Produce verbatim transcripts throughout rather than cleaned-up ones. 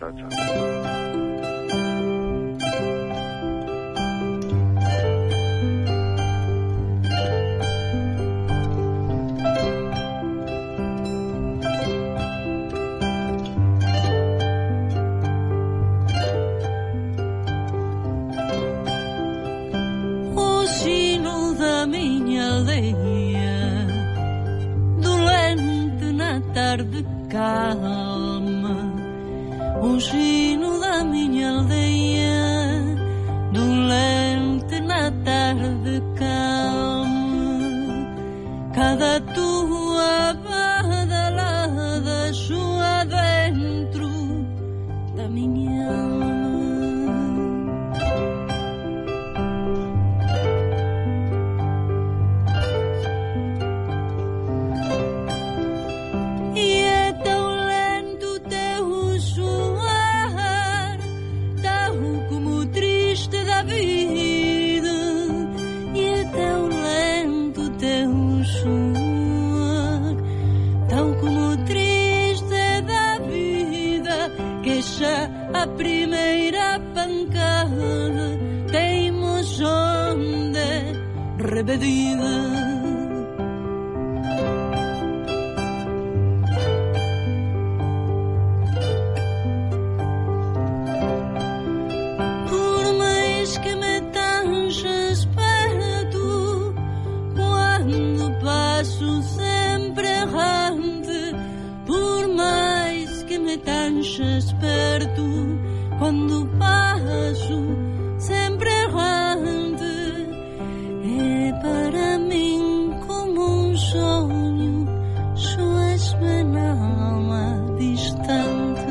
Chao, chao. Tarde calma, o sino da minha aldeia, dolente na tarde calma, cada tua badalada soa dentro da minha alma. A primeira pancada temos onde rebedida. Por mais que me tanges perto, quando passo sempre errante, por mais que me tanges perto, quando passo sempre errante, é para mim como um sonho, soas minha alma distante.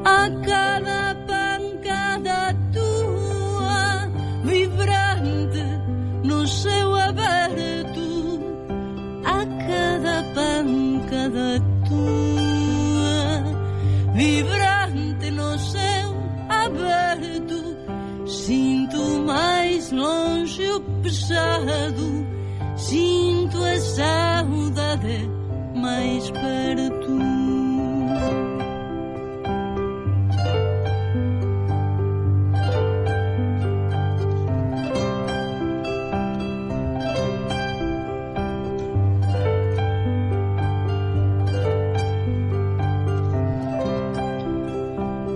A cada pancada tua, vibrante no céu aberto, a cada pancada tua, vibrante no céu aberto, sinto mais longe o pesado, sinto a saudade mais perto.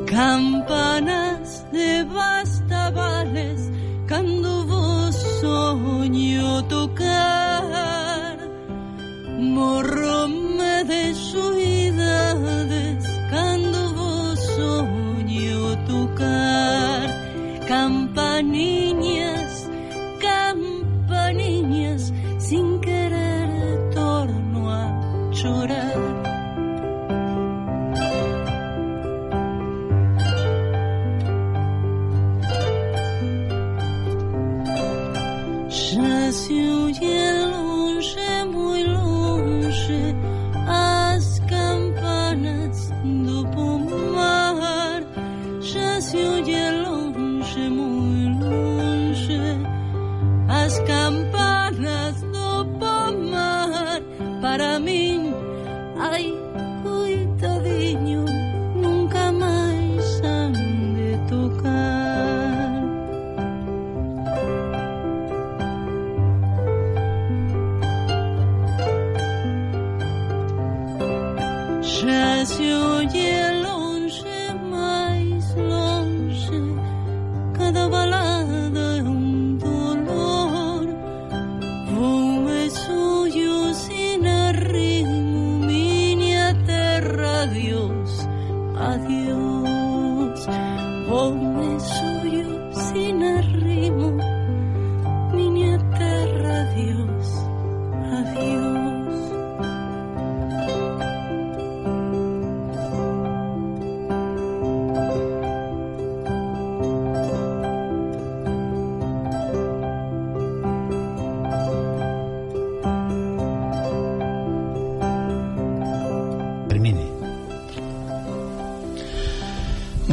Campanas de bastavales, cando vos sonho tocar, morro-me de soidades, cando vos sonho tocar. Campaninhas, campaninhas, sin querer torno a chorar. Já se oye longe, muito longe, as campanas do pomar. Já se oye longe, muito longe, as campanas do pomar. Para mim, ai, coitadinho, nunca mais han de tocar. Já se oye longe, mais longe, cada balada é um dolor. Vou e sonho sin arrimo, minha terra, adiós, adiós. Vou e sonho sin arrimo, minha terra, adiós, adiós.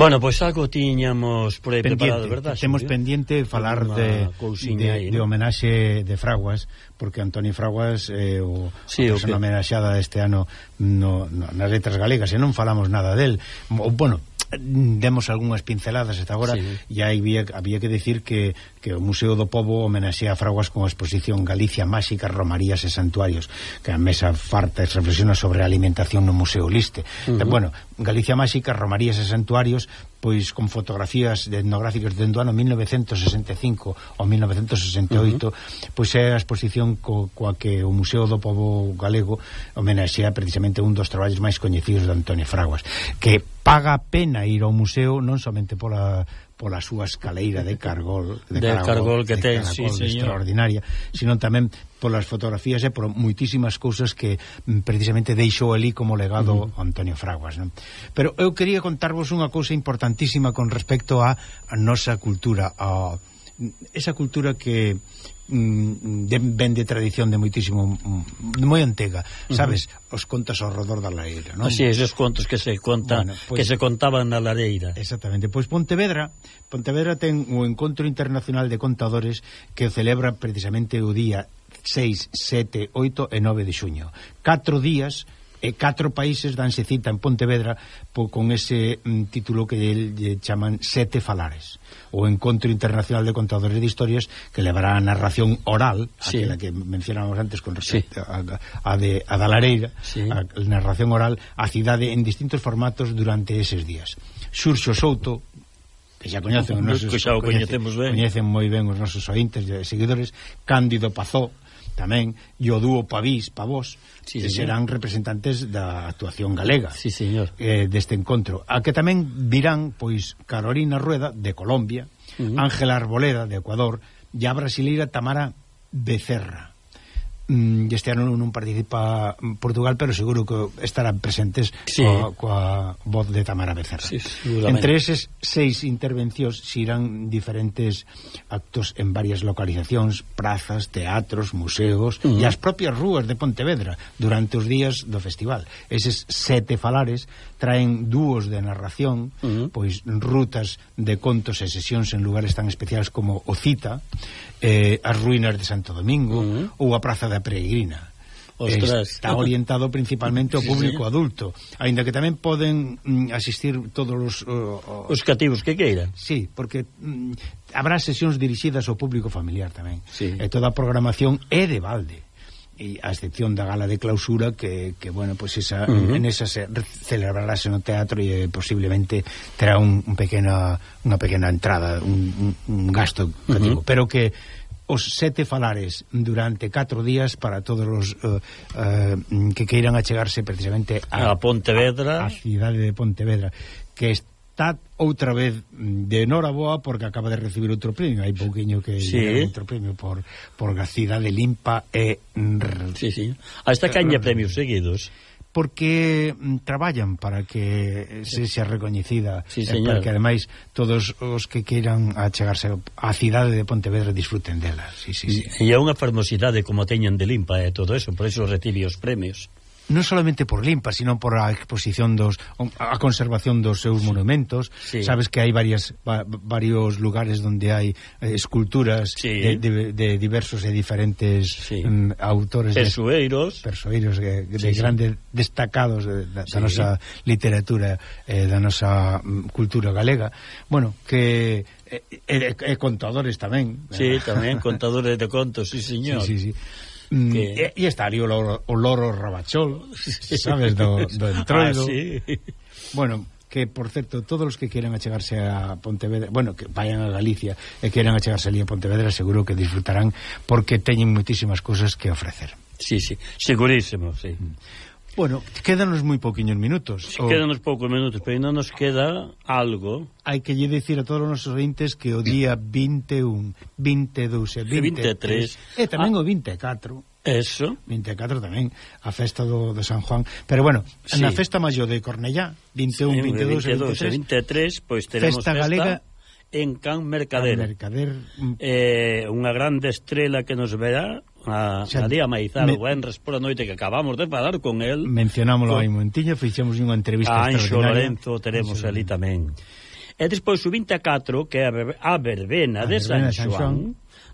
Bueno, pois pues algo tiñamos por aí preparado, verdad? Temos pendiente falar de, de, aí, de ¿no? homenaxe de Fraguas, porque Antonio Fraguas é eh, o, sí, o persona okay. homenaxeada este ano no, no, nas letras galegas, e non falamos nada del. Bueno, demos algunhas pinceladas hasta agora, sí. E había, había que decir que, que o Museo do Pobo homenexea a Fraguas con a exposición Galicia Máxica, Romarías e Santuarios, que a mesa farta reflexiona sobre a alimentación no Museo Liste. Uh -huh. Bueno, Galicia Máxica, Romarías e Santuarios, pois con fotografías etnográficas dende o ano mil novecentos sesenta e cinco ao mil novecentos sesenta e oito, uh -huh. pois é a exposición co, coa que o Museo do Pobo Galego homenexea precisamente un dos traballos máis coñecidos de Antonio Fraguas, que paga pena ir ao museo non somente pola pola súa escaleira de cargol de, de cargol, cargol que de ten, caracol, sí, extraordinaria, sino tamén polas fotografías e por moitísimas cousas que precisamente deixou ali como legado uh -huh. Antonio Fraguas, non? Pero eu quería contarvos unha cousa importantísima con respecto a, a nosa cultura, a esa cultura que mm, de, ven de tradición de moitísimo de moi antiga, sabes, uh -huh. os contos ao redor da lareira, non? Así, esos contos que se contan, bueno, pues, que se contaban na lareira. Exactamente. Pois Pontevedra, Pontevedra ten o Encontro Internacional de Contadores que celebra precisamente o día seis, sete, oito e nove de xuño. Catro días e catro países danse cita en Pontevedra po, con ese mm, título que lle chaman Sete Falares, o Encontro Internacional de Contadores de Historias, que levará a narración oral, sí. aquela que mencionábamos antes con respecto sí. a, a, de, a da lareira, sí. a narración oral a cidade en distintos formatos durante eses días. Xurxo Souto, que xa coñecen os nosos, que xa o coñecemos ben, coñecen moi ben os nosos ointes e seguidores, Cándido Pazó tamén, e o dúo Pavís, Pavós, sí, que serán representantes da actuación galega, sí, señor. Eh, deste encontro. A que tamén virán, pois, Carolina Rueda, de Colombia, uh -huh. Ángela Arboleda, de Ecuador, e a brasileira Tamara Becerra. Este ano non participa Portugal, pero seguro que estarán presentes sí. coa, coa voz de Tamara Becerra. Sí, entre eses seis intervencións xirán diferentes actos en varias localizacións, prazas, teatros, museos uh -huh. e as propias rúas de Pontevedra durante os días do festival. Eses sete falares traen dúos de narración, uh -huh. pois rutas de contos e sesións en lugares tan especiais como o Cita, eh, as ruínas de Santo Domingo uh -huh. ou a Praza da Peregrina. Ostras. Está orientado principalmente ao público sí, sí. adulto, aínda que tamén poden mm, asistir todos os uh, os cativos que queiran. Sí, porque mm, habrá sesións dirixidas ao público familiar tamén. Sí. E toda a programación é de balde, e a excepción da gala de clausura que, que bueno, pues esa, uh -huh. en esa se celebrarase no teatro e posiblemente terá un, un pequena, unha pequena entrada, un, un, un gasto cativo, uh -huh. pero que os sete falares durante catro días para todos os uh, uh, que queiran achegarse precisamente a, a Pontevedra, a, a cidade de Pontevedra, que está outra vez de noraboa porque acaba de recibir outro premio. Hai pouquiño que sí. outro premio por, por a cidade limpa e sí, sí. Hasta caña premios seguidos, porque mm, traballan para que se xa recoñecida, sí, eh, para que ademais todos os que queiran achegarse á cidade de Pontevedra disfruten dela. Sí, sí, sí. E é unha fermosidade como teñen de limpa e eh, todo eso, por eso recibe os premios. Non solamente por limpa, sino por a exposición dos, a conservación dos seus sí. monumentos. Sí. Sabes que hai varias va, varios lugares onde hai eh, esculturas sí. de, de, de diversos e diferentes sí. um, autores, persoeiros, de, persoeiros de, de sí, grandes sí. destacados de, da, sí. da nosa literatura e eh, da nosa um, cultura galega. Bueno, que e, e, e contadores tamén. Sí, tamén contadores de contos, sí, señor. Sí, sí, sí. Que... E, e está ali o loro, o loro Rabachol, sabes, do, do Entroido. Ah, sí. Bueno, que, por certo, todos os que quieran achegarse a Pontevedra, bueno, que vayan a Galicia e quieran achegarse ali a Pontevedra, seguro que disfrutarán, porque teñen moitísimas cousas que ofrecer. Sí, sí, segurísimo, sí. Bueno, quédanos moi pouquiños minutos. Sí, o... Quédanos poucos minutos, pero non nos queda algo. Hai que lle dicir a todos os nosos ointes que o día vinte e un, vinte e dous e vinte e tres e tamén ah, o vinte e catro. Eso. vinte e catro tamén, a festa do, do San Juan. Pero bueno, sí. na festa maior de Cornellá, vinte e un, vinte e dous e vinte e tres. vinte e tres, pois pues, teremos festa, festa galega en Can Mercader. Can Mercader. Eh, unha grande estrela que nos verá a, a día Maizar, o Benres por a noite, que acabamos de falar con el. Mencionámoslo con... aí un momentiño, fixemos unha entrevista a Anxo extraordinaria. Lorenzo teremos ali tamén. E despois o vinte e catro, que é a verbena, a de, San San Xoán,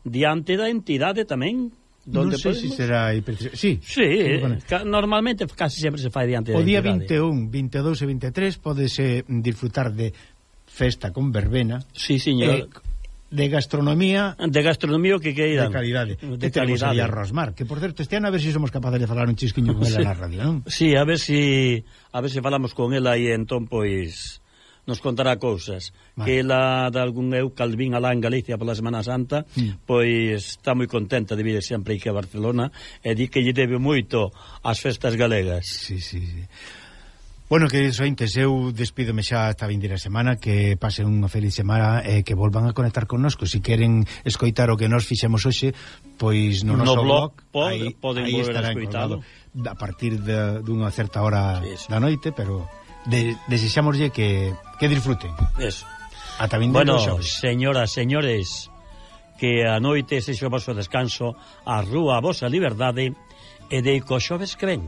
diante da entidade tamén. Non sei se será hipertensión. Sí, sí, sí, normalmente casi sempre se fai diante da entidade. O día vinte e un, vinte e dous e vinte e tres podese disfrutar de festa con verbena. Sí, señor. Eh, de gastronomía, de gastronomía que queiran, de calidade. De que calidade. A Rosmar, que por certo este ano a ver se si somos capaces de falar un chisquiño con ela sí. na radio, non? Sí, a ver si a ver se si falamos con ela e entón pois nos contará cousas. Vale. Que ela de algún eu calvín alá en Galicia pola Semana Santa, mm. pois está moi contenta de vir sempre aquí a Barcelona e di que lle debe moito ás festas galegas. Sí, sí, sí. Bueno, queridos ointes, eu despídome xa esta vindeira semana, que pasen unha feliz semana e eh, que volvan a conectar connosco. Si queren escoitar o que nos fixemos hoxe, pois no, no noso blog, blog aí, poden aí volver a escoitado a partir de, dunha certa hora sí, sí. da noite, pero de, desexámoslle que, que disfruten. Eso. Ata vindeiro bueno, xoves. Señoras, señores, que a noite sexa o vosso descanso, a rúa a vosa liberdade e de co xoves que ven.